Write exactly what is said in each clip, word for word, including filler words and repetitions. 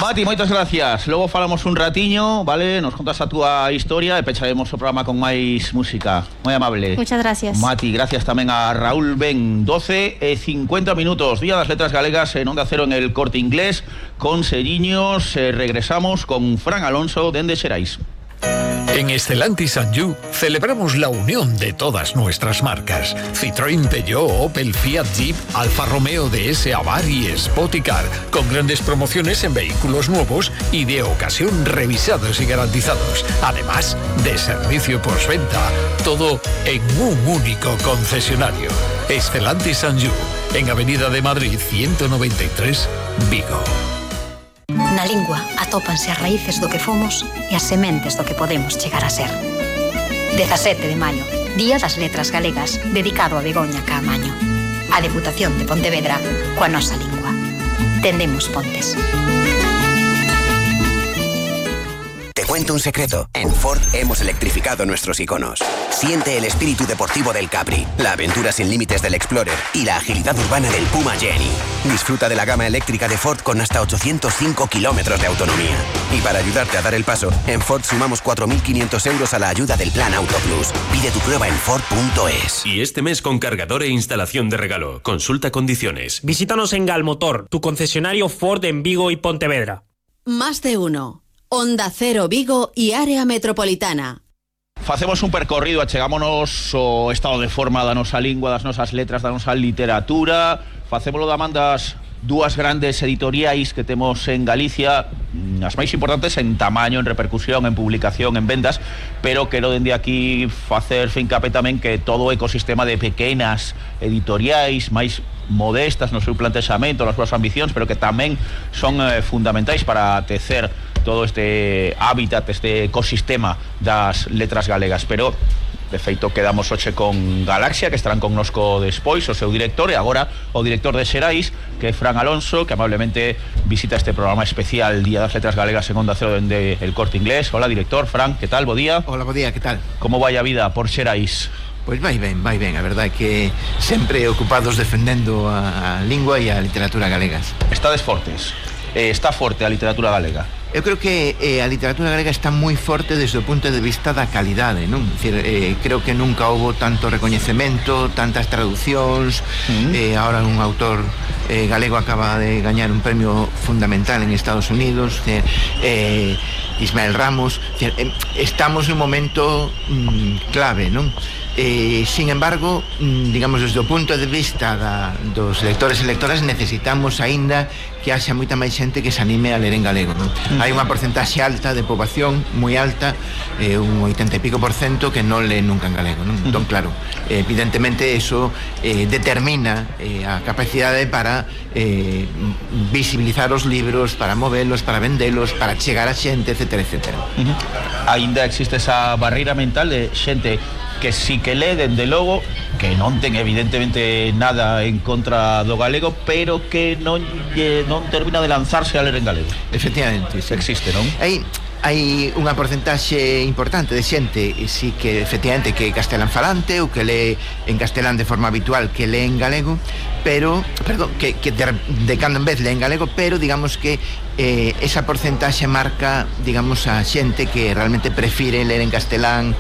Mati, moitas gracias. Logo falamos un ratiño, vale? Nos contas a túa historia e pecharemos o programa con máis música. Moi amable. Muchas gracias. Mati, gracias tamén a Raúl Ben. doce e cincuenta minutos, Día das Letras Galegas en Onda Cero en el Corte Inglés. Con Seriños, eh, regresamos con Fran Alonso dende Xerais. En Stellantis and You celebramos la unión de todas nuestras marcas. Citroën, Peugeot, Opel, Fiat, Jeep, Alfa Romeo, D S, Avar y Spoticar, con grandes promociones en vehículos nuevos y de ocasión revisados y garantizados. Además de servicio postventa, todo en un único concesionario. Stellantis and You, en Avenida de Madrid ciento noventa y tres, Vigo. Na lingua atópanse as raíces do que fomos e as sementes do que podemos chegar a ser. dezasete de maio, Día das Letras Galegas, dedicado a Begoña Caamaño. A Deputación de Pontevedra, coa nosa lingua. Tendemos pontes. Te cuento un secreto. En Ford hemos electrificado nuestros iconos. Siente el espíritu deportivo del Capri, la aventura sin límites del Explorer y la agilidad urbana del Puma Jenny. Disfruta de la gama eléctrica de Ford con hasta ochocientos cinco kilómetros de autonomía. Y para ayudarte a dar el paso, en Ford sumamos cuatro mil quinientos euros a la ayuda del Plan Auto Plus. Pide tu prueba en Ford punto es. Y este mes con cargador e instalación de regalo. Consulta condiciones. Visítanos en Galmotor, tu concesionario Ford en Vigo y Pontevedra. Más de uno. Onda Cero Vigo y área metropolitana. Facemos un percorrido, achegámonos o estado de forma da nosa lingua, das nosas letras, da nosa literatura. Facémolo da man das dúas grandes editoriais que temos en Galicia, as máis importantes en tamaño, en repercusión, en publicación, en vendas, pero quero dende aquí facer fincapé tamén que todo o ecosistema de pequenas editoriais máis modestas no seu plantexamento, nas súas ambicións, pero que tamén son eh, fundamentais para tecer todo este hábitat, este ecosistema das letras galegas. Pero de feito quedamos hoxe con Galaxia, que estarán connosco despois, o seu director, e agora o director de Xerais, que é Fran Alonso, que amablemente visita este programa especial Día das Letras Galegas en Onda Cero dende el Corte Inglés. Hola, director. Fran, que tal? Bo día. Hola, bo día, que tal? Como vai a vida por Xerais? Pois vai ben, vai ben, a verdade é que sempre ocupados defendendo a, a lingua e a literatura galegas. Estades fortes, eh, está forte a literatura galega? Eu creo que eh, a literatura galega está moi forte desde o punto de vista da calidade, non? Decir, eh, creo que nunca houbo tanto recoñecemento, tantas traducións. Mm. eh, ahora un autor eh, galego acaba de gañar un premio fundamental en Estados Unidos, eh, Ismael Ramos. Decir, eh, estamos nun momento mm, clave, non? Eh, sin embargo, digamos, desde o punto de vista da, dos lectores e lectoras, necesitamos aínda que haxa moita máis xente que se anime a ler en galego, non? Uh-huh. Hai unha porcentaxe alta de poboación, moi alta, eh, un oitenta e pico por cento que non lee nunca en galego, non? Uh-huh. Entón, claro, eh, evidentemente eso eh, determina eh, a capacidade para eh, visibilizar os libros, para movelos, para vendelos, para chegar a xente, etcétera, etcétera. Uh-huh. Aínda existe esa barreira mental de xente que sí que lee, dende logo, que non ten evidentemente nada en contra do galego, pero que non, eh, non termina de lanzarse a ler en galego. Efectivamente, sí. Existe, non? Hai, hai unha porcentaxe importante de xente, sí, que efectivamente que é castelán falante ou que lee en castelán de forma habitual, que lee en galego, pero, perdón, que, que de, de cando en vez lee en galego, pero digamos que eh, esa porcentaxe marca, digamos, a xente que realmente prefire ler en castelán,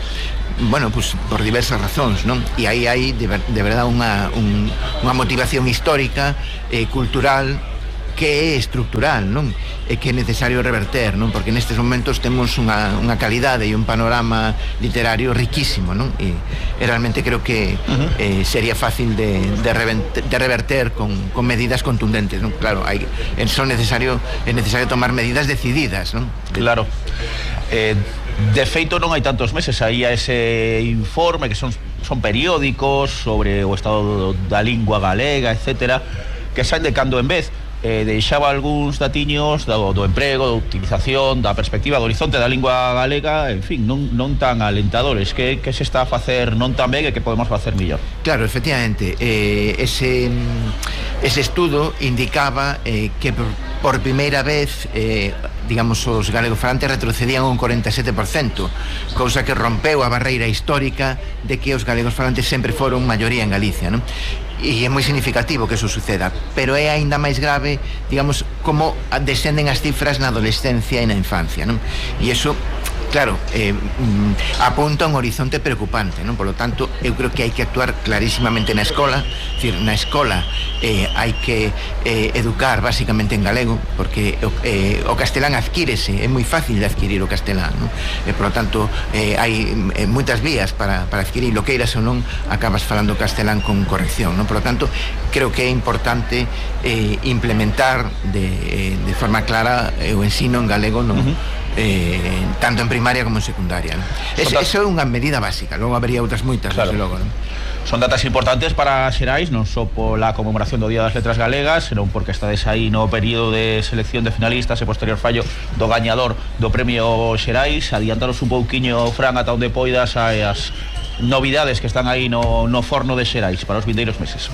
bueno, pues por diversas razóns, non? E aí hai de, ver, de verdade unha, un, unha motivación histórica, eh, cultural, que é estructural, non? E que é necesario reverter, non? Porque nestes momentos temos unha, unha calidade e un panorama literario riquísimo, non? E, e realmente creo que uh-huh. eh, sería fácil de, de, reventer, de reverter con, con medidas contundentes, non? Claro, hai, son necesario, é necesario tomar medidas decididas, non? Claro. Eh, de feito non hai tantos meses aí a ese informe que son, son periódicos sobre o estado da lingua galega, etcétera, que saen de cando en vez. Eh, deixaba algúns datiños do, do emprego, da utilización, da perspectiva, do horizonte da lingua galega, en fin, non, non tan alentadores. Que, que se está a facer non tan ben e que podemos facer mellor? Claro, efectivamente, eh, ese, ese estudo indicaba eh, que por, por primeira vez eh, digamos, os galegofalantes retrocedían un cuarenta e sete por cento, cousa que rompeu a barreira histórica de que os galegos falantes sempre foron maioría en Galicia, non? e é moi significativo que eso suceda, pero é aínda máis grave, digamos, como descenden as cifras na adolescencia e na infancia, non? E iso, claro, eh, apunta a un horizonte preocupante, non? Por lo tanto, eu creo que hai que actuar clarísimamente na escola, é dicir, na escola eh, hai que eh, educar basicamente en galego, porque eh, o castelán adquírese, é moi fácil de adquirir o castelán, non? E, por lo tanto, eh, hai eh, moitas vías para, para adquirir, lo queiras ou non, acabas falando castelán con corrección, non? Por lo tanto, creo que é importante eh, implementar de, eh, de forma clara eh, o ensino en galego, non? Uh-huh. Eh, tanto en primaria como en secundaria, ¿no? Es, eso é unha medida básica, logo habería outras moitas, claro. Desde logo, ¿no? Son datas importantes para Xerais, non só pola conmemoración do Día das Letras Galegas, senón porque estades aí no período de selección de finalistas e posterior fallo do gañador do premio Xerais. Adiantaros un pouquiño, Fran, ata onde poidas as novidades que están aí no, no forno de Xerais para os vindeiros meses.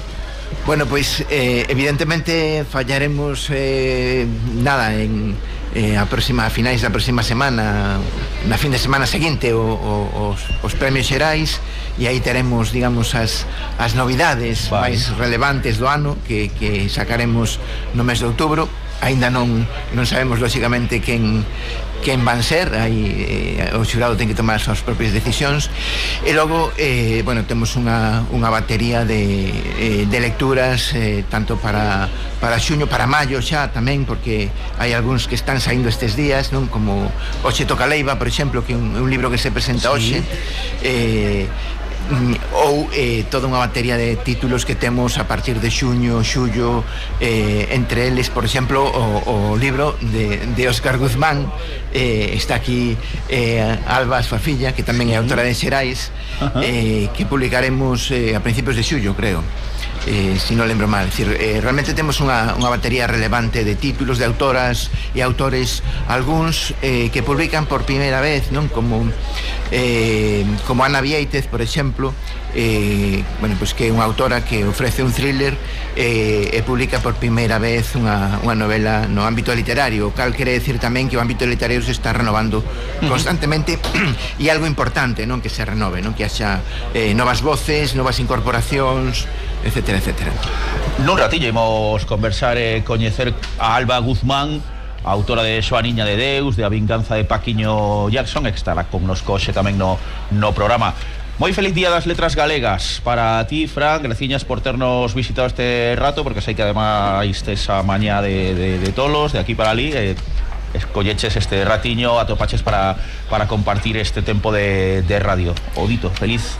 Bueno, pois pues, eh, evidentemente fallaremos eh, nada en eh, a próxima, a finais da próxima semana, na fin de semana seguinte o, o, os, os premios Xerais, e aí teremos, digamos, as, as novidades vale. máis relevantes do ano que, que sacaremos no mes de outubro. Ainda non, non sabemos lóxicamente quen, quen van ser, aí eh, o xurado ten que tomar as súas propias decisións, e logo eh, bueno, temos unha, unha batería de, eh, de lecturas eh, tanto para, para xuño, para maio xa tamén, porque hai algúns que están saindo estes días, non? Como Oxe toca Leiva, por exemplo, que é un, un libro que se presenta hoxe, sí. eh, ou eh, toda unha batería de títulos que temos a partir de xuño, xullo, eh, entre eles, por exemplo, o, o libro de, de Óscar Guzmán, eh, está aquí eh, Alba, a súa filla, que tamén é autora de Xerais, eh, que publicaremos eh, a principios de xullo, creo. Eh, si non lembro mal, decir, eh, realmente temos unha, unha batería relevante de títulos, de autoras e autores, algúns eh, que publican por primeira vez, non? Como eh, como Ana Viéitez, por exemplo, eh, bueno, pues que é unha autora que ofrece un thriller eh, e publica por primeira vez unha, unha novela no ámbito literario, o cal quere decir tamén que o ámbito literario se está renovando constantemente e algo importante, non? Que se renove, non? Que haxa eh, novas voces, novas incorporacións, etcétera, etcétera. Nun ratillo imos conversar e coñecer a Alba Guzmán, autora de Xoaniña de Deus, de A vinganza de Paquiño Jackson, que estará connosco hoxe tamén no, no programa. Moi feliz Día das Letras Galegas para ti, Fran, graciñas por ternos visitado este rato, porque sei que ademais tes a mañá de, de, de tolos, de aquí para ali, eh, escolleches este ratiño, atopaches para, para compartir este tempo de, de radio. Odito, feliz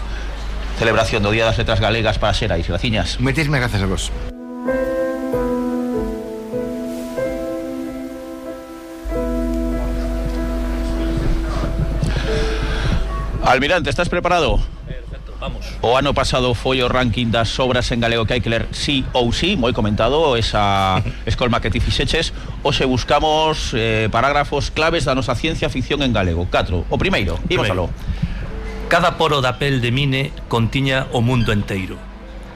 celebración do Día das Letras Galegas para Xerais, graciñas. Moitísimas grazas a vos. Almirante, estás preparado? Perfecto, vamos. O ano pasado foi o ranking das obras en galego que hai que ler sí ou sí, moi comentado esa escolma que ti fixeches. Hoxe buscamos eh, parágrafos claves da nosa ciencia ficción en galego. Catro. O primeiro, imos aló. Cada poro da pel de Mine contiña o mundo enteiro.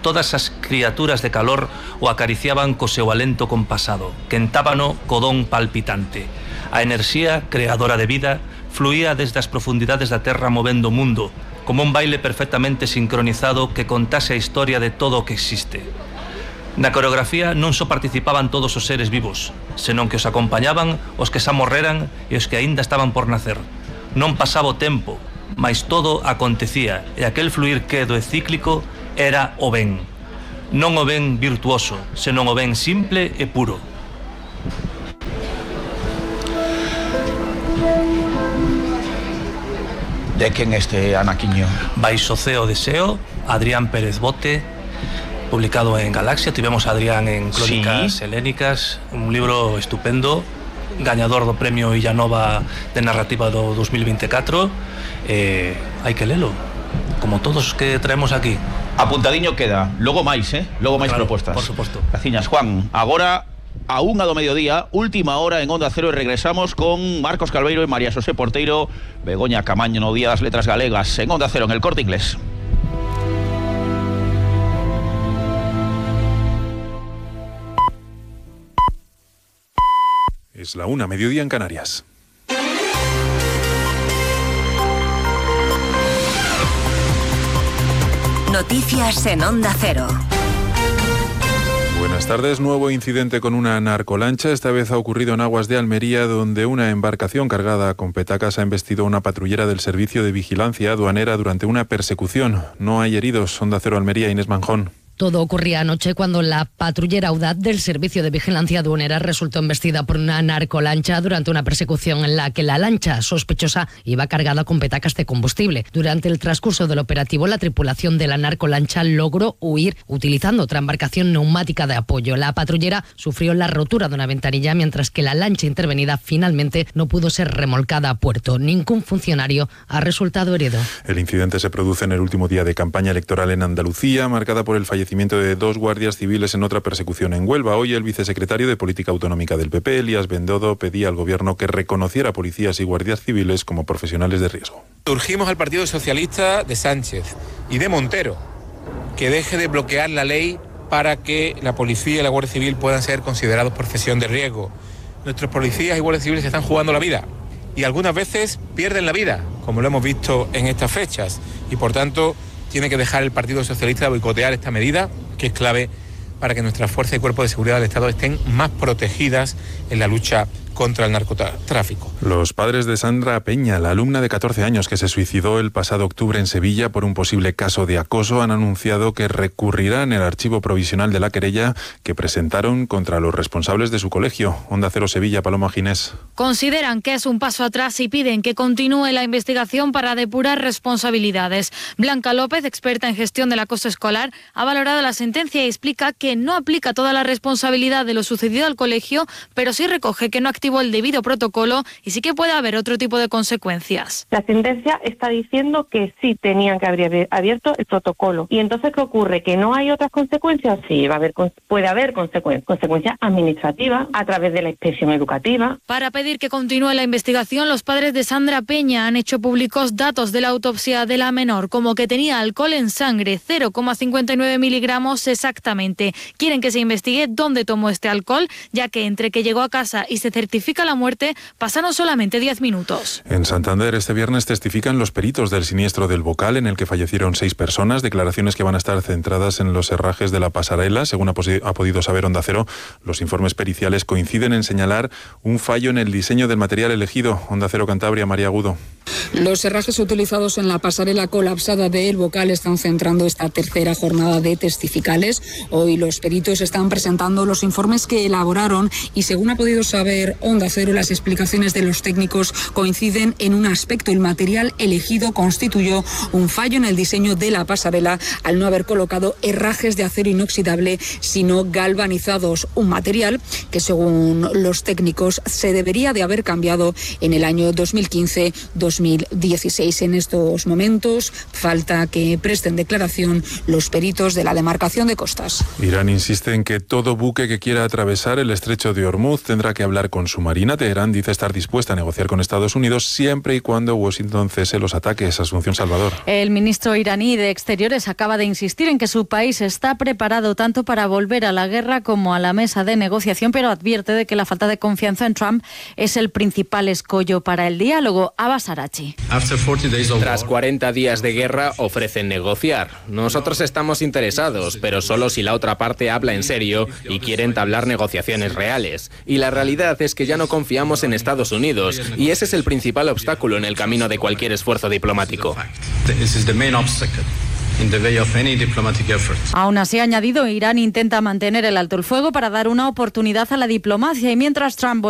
Todas as criaturas de calor o acariciaban co seu alento compasado, quentábano co don palpitante. A enerxía creadora de vida fluía desde as profundidades da terra movendo o mundo, como un baile perfectamente sincronizado que contase a historia de todo o que existe. Na coreografía non só participaban todos os seres vivos, senón que os acompañaban os que xa morreran e os que aínda estaban por nacer. Non pasaba o tempo, mais todo acontecía, e aquel fluir quedo e cíclico era o ben. Non o ben virtuoso, senón o ben simple e puro. De quen este anaquiño? Baixo ceo de Seo, Adrián Pérez Bote, publicado en Galaxia. Tivemos a Adrián en Crónicas sí. Helénicas, un libro estupendo, gañador do premio Illanova de narrativa do dos mil veinticuatro. Eh, hai que lelo, como todos os que traemos aquí. Apuntadiño queda, logo máis, eh? Logo máis claro, propostas. Por suposto. Graciñas, Juan. Agora a unha do mediodía, última hora en Onda Cero, e regresamos con Marcos Calveiro e María Xosé Porteiro, Begoña Camaño no Día das Letras Galegas en Onda Cero, en El Corte Inglés. Es la una, mediodía en Canarias. Noticias en Onda Cero. Buenas tardes. Nuevo incidente con una narcolancha. Esta vez ha ocurrido en aguas de Almería, donde una embarcación cargada con petacas ha embestido a una patrullera del Servicio de Vigilancia Aduanera durante una persecución. No hay heridos. Onda Cero Almería, Inés Manjón. Todo ocurría anoche cuando la patrullera Audaz del Servicio de Vigilancia Aduanera resultó embestida por una narcolancha durante una persecución en la que la lancha sospechosa iba cargada con petacas de combustible. Durante el transcurso del operativo, la tripulación de la narcolancha logró huir utilizando otra embarcación neumática de apoyo. La patrullera sufrió la rotura de una ventanilla, mientras que la lancha intervenida finalmente no pudo ser remolcada a puerto. Ningún funcionario ha resultado herido. El incidente se produce en el último día de campaña electoral en Andalucía, marcada por el fallecimiento de dos guardias civiles en otra persecución en Huelva. Hoy el vicesecretario de Política Autonómica del P P, Elías Bendodo, pedía al Gobierno que reconociera policías y guardias civiles como profesionales de riesgo. Urgimos al Partido Socialista de Sánchez y de Montero que deje de bloquear la ley para que la policía y la Guardia Civil puedan ser considerados profesión de riesgo. Nuestros policías y guardias civiles se están jugando la vida y algunas veces pierden la vida, como lo hemos visto en estas fechas, y por tanto tiene que dejar el Partido Socialista de boicotear esta medida, que es clave para que nuestras fuerzas y cuerpos de seguridad del Estado estén más protegidas en la lucha contra el narcotráfico. Los padres de Sandra Peña, la alumna de catorce años que se suicidó el pasado octubre en Sevilla por un posible caso de acoso, han anunciado que recurrirán el archivo provisional de la querella que presentaron contra los responsables de su colegio. Onda Cero Sevilla, Paloma Ginés. Consideran que es un paso atrás y piden que continúe la investigación para depurar responsabilidades. Blanca López, experta en gestión del acoso escolar, ha valorado la sentencia y explica que no aplica toda la responsabilidad de lo sucedido al colegio, pero sí recoge que no activa el debido protocolo y sí que puede haber otro tipo de consecuencias. La sentencia está diciendo que sí tenían que haber abierto el protocolo. ¿Y entonces qué ocurre? ¿Que no hay otras consecuencias? Sí, va a haber, puede haber consecuencias, consecuencias administrativas a través de la inspección educativa. Para pedir que continúe la investigación, los padres de Sandra Peña han hecho públicos datos de la autopsia de la menor, como que tenía alcohol en sangre, cero coma cincuenta y nueve miligramos exactamente. Quieren que se investigue dónde tomó este alcohol, ya que entre que llegó a casa y se certificó la muerte pasaron solamente diez minutos. En Santander este viernes testifican los peritos del siniestro del Bocal, en el que fallecieron seis personas, declaraciones que van a estar centradas en los herrajes de la pasarela. Según ha, ha podido saber Onda Cero, los informes periciales coinciden en señalar un fallo en el diseño del material elegido. Onda Cero Cantabria, María Agudo. Los herrajes utilizados en la pasarela colapsada de El Bocal están centrando esta tercera jornada de testificales. Hoy los peritos están presentando los informes que elaboraron y, según ha podido saber Onda Cero, las explicaciones de los técnicos coinciden en un aspecto. El material elegido constituyó un fallo en el diseño de la pasarela al no haber colocado herrajes de acero inoxidable, sino galvanizados, un material que, según los técnicos, se debería de haber cambiado en el año dos mil quince dos mil dieciséis. En estos momentos falta que presten declaración los peritos de la demarcación de costas. Irán insiste en que todo buque que quiera atravesar el estrecho de Hormuz tendrá que hablar con su marina. Teherán dice estar dispuesta a negociar con Estados Unidos siempre y cuando Washington cese los ataques. Asunción Salvador. El ministro iraní de Exteriores acaba de insistir en que su país está preparado tanto para volver a la guerra como a la mesa de negociación, pero advierte de que la falta de confianza en Trump es el principal escollo para el diálogo. Abbas Arachi. Tras cuarenta días de guerra ofrecen negociar. Nosotros estamos interesados, pero solo si la otra parte habla en serio y quiere entablar negociaciones reales. Y la realidad es que ya no confiamos en Estados Unidos, y ese es el principal obstáculo en el camino de cualquier esfuerzo diplomático. Aún así, ha añadido, Irán intenta mantener el alto el fuego para dar una oportunidad a la diplomacia, y mientras Trump